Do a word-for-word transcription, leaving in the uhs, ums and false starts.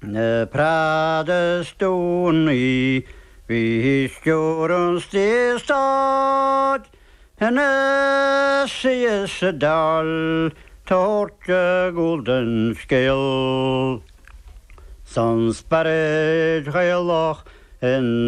Na Protastúnaigh bhí stiúir an saorstát ina suí sa Dáil tabhairt a gcúl don scéal. San spiorad Gaelach in